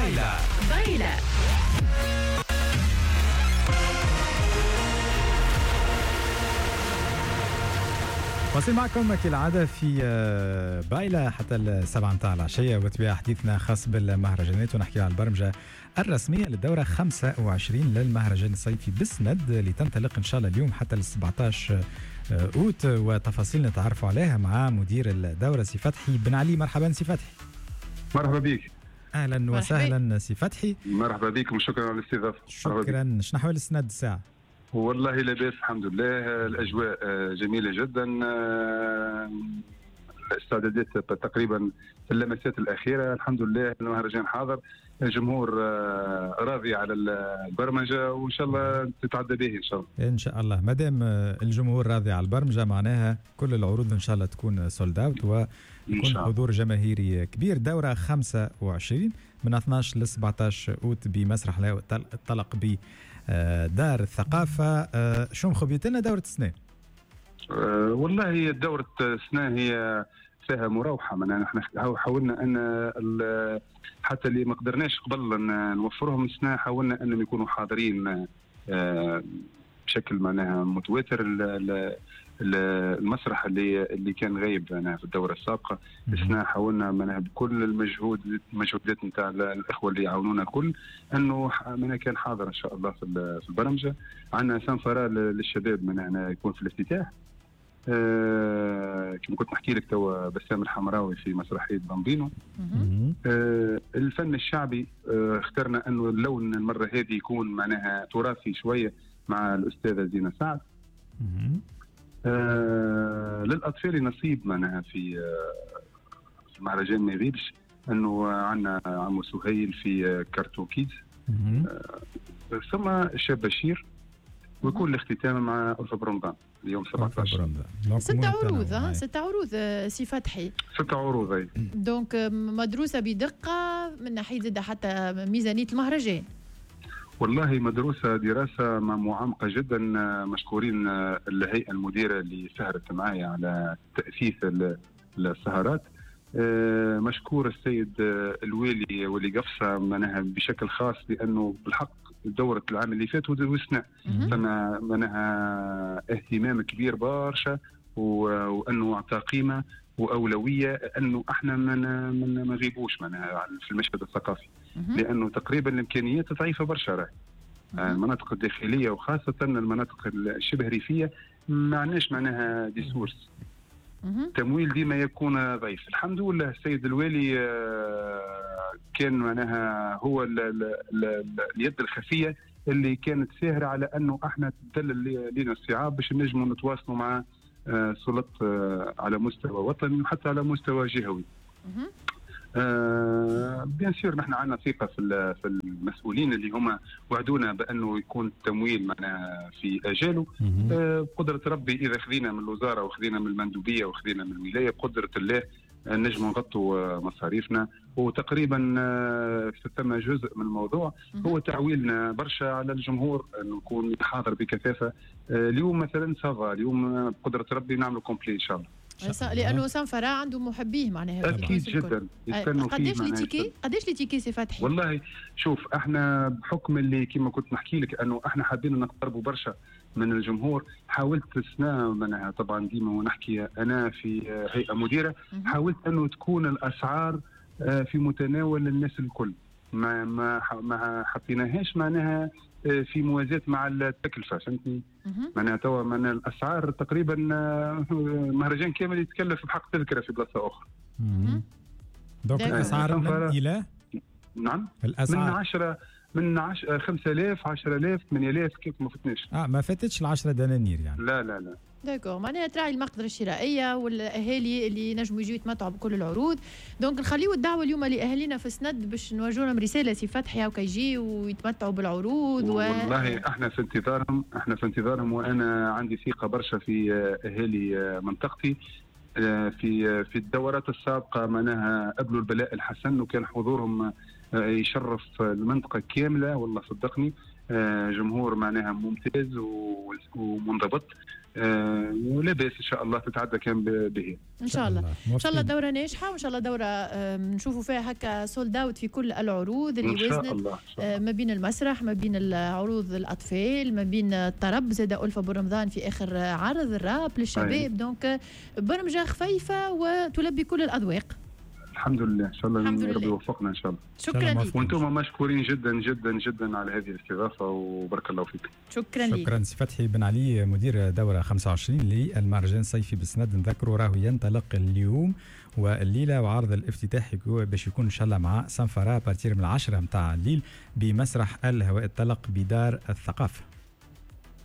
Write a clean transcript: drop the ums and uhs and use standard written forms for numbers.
بايلا بايلا. واصل معكم كالعادة في بايلة حتى 7 متاع العشية، وتبع حديثنا خاص بالمهرجانات ونحكي على البرمجة الرسمية للدورة 25 للمهرجان الصيفي بالسند اللي تنطلق إن شاء الله اليوم حتى 17 أوت، وتفاصيل نتعرفوا عليها مع مدير الدورة سي فتحي بن علي. مرحبا سي فتحي. مرحبا بك. أهلا وسهلا سي فتحي. مرحبا بكم، شكرا على الاستضافة. شكرا. شنو أحوال السند الساعة؟ والله لاباس الحمد لله، الأجواء جميلة جدا، الاستعدادات تقريبا في اللمسات الأخيرة، الحمد لله المهرجان حاضر، الجمهور راضي على البرمجة وإن شاء الله تتعدى به إن شاء الله. إن شاء الله، مادام الجمهور راضي على البرمجة معناها كل العروض إن شاء الله تكون sold out ويكون حضور جماهيري كبير. دورة 25 من 12 ل 17 أوت بمسرح الطلق ب دار الثقافة. شو مخبيت لنا دورة السنة؟ والله دورة السنة هي فيها مراوحة، معناها نحن حاولنا أن حتى اللي ما قدرناش قبل أن نوفرهم السنة حاولنا أنهم يكونوا حاضرين بشكل معناها متواتر. المسرح اللي كان غايب معناها في الدورة السابقة، السنة حاولنا معناها بكل المجهودات نتاع الإخوة اللي يعاونونا الكل أنه معناها كان حاضر إن شاء الله في البرمجة. عندنا سنفرة للشباب معناها يكون في الافتتاح، كما كنت نحكي لك توا بسام الحمراوي في مسرحية بامبينو. الفن الشعبي اخترنا أنه اللون المرة هذه يكون معناها تراثي شوية مع الأستاذة زينة سعد. للأطفال نصيب معناها في مهرجان ما يغيبش، أنه عندنا عمو سهيل في كارتون كيدز، ثم الشاب بشير، ويكون الاختتام مع ألفة برمضان اليوم 17. ست عروض، ست عروض سي فتحي. ست عروض أي. donc مدروسة بدقة من ناحية زادة حتى ميزانية المهرجان. والله مدروسة دراسة معمقة جدا، مشكورين الهيئة المديرة اللي سهرت معايا على تأسيس السهرات، مشكور السيد الوالي واللي قفصة معناها بشكل خاص، لأنه بالحق دورة العام اللي فات والسنة فما معناها اهتمام كبير برشا، وأنه أعطى قيمة وأولوية أنه احنا ما نغيبوش معناها في المشهد الثقافي، لأنه تقريبا الإمكانيات ضعيفة برشا راهي. المناطق الداخلية وخاصة المناطق الشبه ريفية ما عندناش معناها des sources، تمويل ديما يكون ضعيف. الحمد لله السيد الوالي كان معناها هو اليد الخفية اللي كانت ساهرة على أنه احنا تدلل لنا الصعاب باش نجموا نتواصلوا مع سلطة على مستوى وطني وحتى على مستوى جهوي. bien sûr نحن عندنا ثقة في المسؤولين اللي هما وعدونا بأنه يكون التمويل معنا في أجاله. بقدرة ربي إذا خذينا من الوزارة وخذينا من المندوبية وخذينا من الولاية بقدرة الله نجم نغطوا مصاريفنا. وتقريبا ثم جزء من الموضوع هو تعويلنا برشا على الجمهور أنه يكون حاضر بكثافة. اليوم مثلا ça va، اليوم بقدرة ربي نعمل complet إن شاء الله، لانه سنفرا عنده محبيه معناها اكيد جدا. قداش les tickets؟ قداش les tickets سي فتحي؟ والله شوف احنا بحكم اللي كما كنت نحكي لك انه احنا حابين نقتربوا برشا من الجمهور، حاولت السنة معناها طبعا ديما ونحكي انا في هيئة مديره، حاولت انه تكون الاسعار في متناول الناس الكل، ما ما ما حطيناهاش معناها في موازاة مع التكلفة، فهمتني؟ معناها توا معناها الأسعار تقريبا مهرجان كامل يتكلف بحق تذكرة في بلاصة أخرى. donc الأسعار من إلى؟ نعم، الأسعار من 10 5000 10000 8000 كيف ما فتناش. ما فاتتش 10 دنانير يعني. لا لا لا. d'accord، معناها تراعي المقدرة الشرائية والأهالي اللي نجموا يجوا يتمتعوا بكل العروض. donc نخليو الدعوة اليوم لأهالينا في سند باش نوجهوا لهم رسالة سي فتحي وكي يجيو ويتمتعوا بالعروض. والله احنا في انتظارهم، احنا في انتظارهم، وانا عندي ثقة برشا في أهالي منطقتي. في الدورات السابقة معناها قبلوا البلاء الحسن وكان حضورهم يشرف المنطقة كاملة، والله صدقني جمهور معناها ممتاز ومنضبط. ولا باس، ان شاء الله تتعدى كان به. ان شاء الله، ان شاء الله دوره ناجحه، وان شاء الله دوره نشوفوا فيها هكا sold out في كل العروض اللي وزنت ما بين المسرح، ما بين العروض الاطفال، ما بين الطرب، زاد ألفة برمضان في اخر عرض الراب للشباب. donc برمجة خفيفة وتلبي كل الاذواق. الحمد لله، ان شاء الله ربي يوفقنا ان شاء الله. شكرا لك، وانتم مشكورين جدا جدا جدا على هذه الاستضافة وبارك الله فيكم. شكرا لك. شكرا سي فتحي بن علي، مدير دوره 25 للمهرجان الصيفي بالسند. نذكروا راهو ينطلق اليوم والليله، وعرض الافتتاح باش يكون ان شاء الله مع سنفرا à partir من 10 نتاع الليل بمسرح الهواء الطلق بدار الثقافه.